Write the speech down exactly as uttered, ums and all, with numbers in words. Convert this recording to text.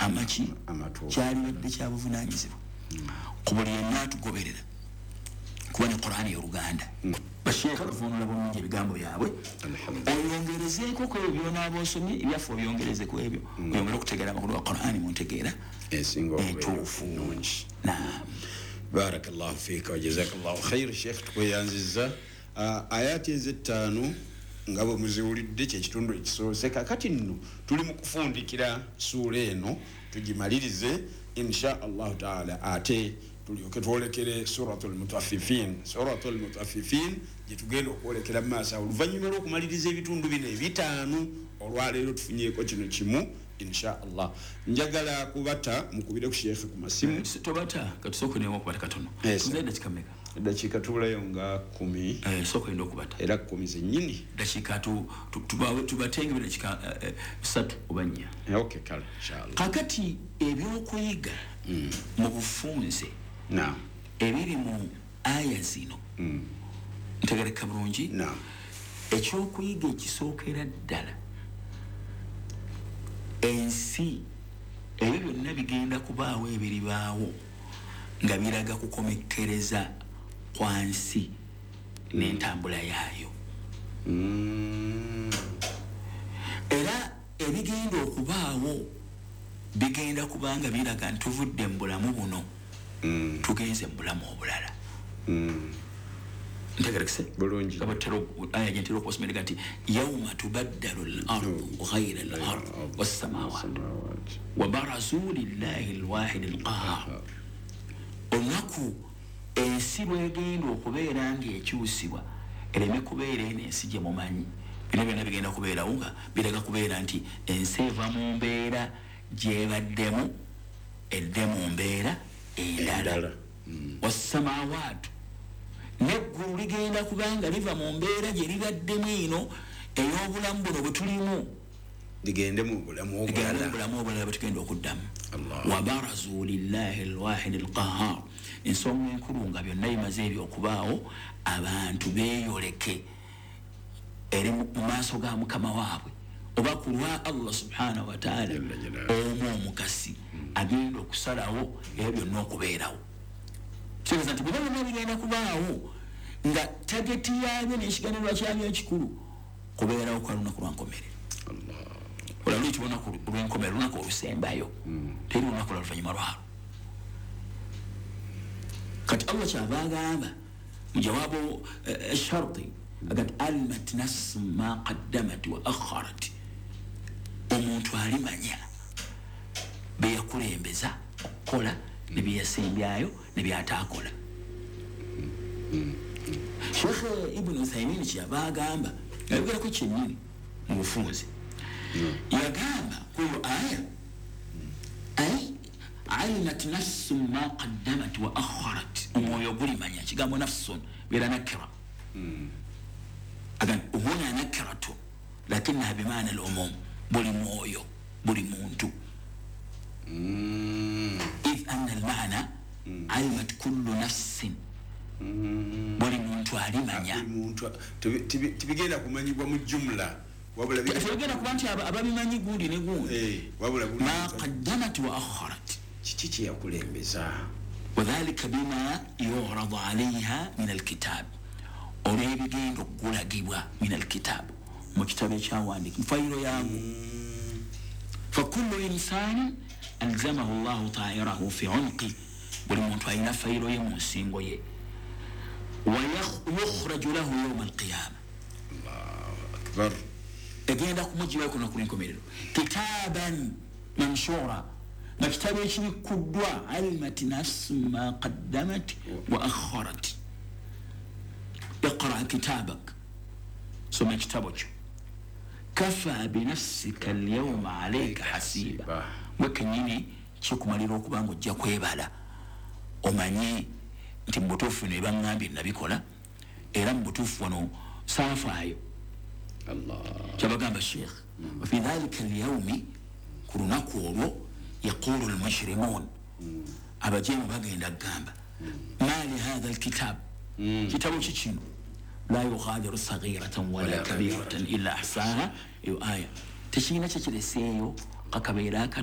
Amaki kyalibadde kyabuvunanyizibwa ku buli yenna atugoberera kuba ne Qur'ani y'Oluganda. Basheekha bavuunula bulungi ebigambo byabwe, oyongerezeeko ku ebyo byonaaba osomye, ebyaffe obyongereze ku ebyo, oyongere okutegeera amakulu ga Qur'ani mu ntegeera entuufu. Barakallahu fiika wa jazakallahu khair. Sheikh, tukweyanziza. Ayati ezettaano nga bwe muziwulidde kyekitundu ekisoose. Kakati nno tuli mu kufundikira suula eno tugimalirize insha Allahu taala, ate tulyoke twolekere Suratul Mutaffifin. Suratul Mutaffifin gyetugenda okwolekera mu maaso awo oluvannyuma lw'okumaliriza ebitundu bino ebitaano. Olwaleero tufunyeeko kino kimu insha Allah. Njagala kubata mukubire ku sheekhe ku masimu. Tobata, katusooke nemu okubata katono. Tuzaye dakiika mmeka? Dakiika tubulayo nga kumi. Sooka oyinda okubata era kumi zennyini. Dakiika tubatenge dakiika ssatu oba nnya. Okay, kale inshallah. Kakati ebyokuyiga mu bufunze ebiri mu aya zino ntegereka bulungi. Ekyokuyiga ekisookera ddala, ensi ebyo byonna bigenda kubaawo ebiribaawo nga biraga kukomekkereza kwa nsi n'entambula yaayo. Era ebigenda okubaawo bigenda kubanga biraga nti tuvudde mu bulamu buno tugenze mu bulamu obulala. Ntegerekese bulungi. Aya gyentera okubasomera nti yauma tubaddalu al-ardu ghayra al-ard wassamawat wa barazu lillahi al-wahid al-qahhar. Olunaku ensi lwegenda okubeera ng'ekyusibwa ereme kubeera eno ensi gye mumanyi, bino byonna bigenda kubeerawo nga biraga kubeera nti ensi eva mu mbeera gyebaddemu edde mu mbeera endala. Wassamawaatu, n'eggulu ligenda kubanga liva mu mbeera gye libaddemu eno ey'obulamu buno bwe tulimu ligende mu bulamu obulala, bulamu obulala bwe tugenda okuddamu. Wabarazu lillahi alwahid alqahhar. Ensonga enkulu nga byonna bimaze ebyo okubaawo, abantu beeyoleke eri mu maaso ga mukama waabwe oba ku lwa Allah subhanahu wa taala omu omukasi agenda okusalawo ebyo byonna okubeerawo. Kitegeeza nti bino byonna bigenda kubaawo nga tageti yaabyo n'ekigendererwa kyabyo ekikulu kubeerawo kwa lunaku lwa nkomerero. Olwo luyitibwa olunaku lw'enkomerero, olunaku olusembayo, teri lunaku lwa luvannyuma lwalwo. Kati Allah kyava agamba mu jawaabu esharti agati alimat nafsu ma qaddamat wa akharat, omuntu alimanya bye yakulembeza okukola ne bye yasembyayo ne byataakola. Sheikh Ibn Uthaymin kyava agamba, yayogerako kyennyini mu bufunze, yagamba kuyo aya ay alimat nafsu ma qaddamat wa akharat, omwoyo gulimanya. Kigambo nafsun beera nakira, agan huna nakiratu lakinaha bimaana al-umum, buli mwoyo buli muntu. Idh anna al-maana alimat kullu nafsin, buli muntu alimanya. Tibigenda kumanyibwa mu jumla, tebigenda kuba nti ababimanyi gundi ne gundi, ma qaddamat wa akharat, kiki kye yakulembeza. Wadhalika bima yuradu alayha min alkitab, olw'ebigenda okugulagibwa min alkitab, mu kitabo ekyawandiika mu fayiro yangu. Fakullu insani alzamahu llahu tairahu fi unqi, buli muntu alina fayiro ye mu nsingo ye. Wayukhraju lahu yawma alqiyama, Allahu akbar, egenda kumugibwako ku lunaku lw'enkomerero. Kitaban manshura, nga kitabo ekibikkuddwa. Alimat nafsu ma qaddamat wa akharat. Iqra kitabak, soma ekitabo kyo. Kafa binafsika alyawma alayka hasiba, gwe kennyini kikumalira okuba nga ojja kwebala omanye nti mu butuufu bino ebaŋŋambye nabikola, era mu butuufu wano saafaayo. Kyabagamba Sheikh wafi dhalika alyawmi, ku lunaku olwo, yaqulu almujrimun, abajeemu bagenda kugamba ma li hatha alkitab, kitabo ki kino, la yughadiru saghiratan wala kabiratan illa ahsaha. Eyo aya tekirina kyekireseeyo kakabeera akato.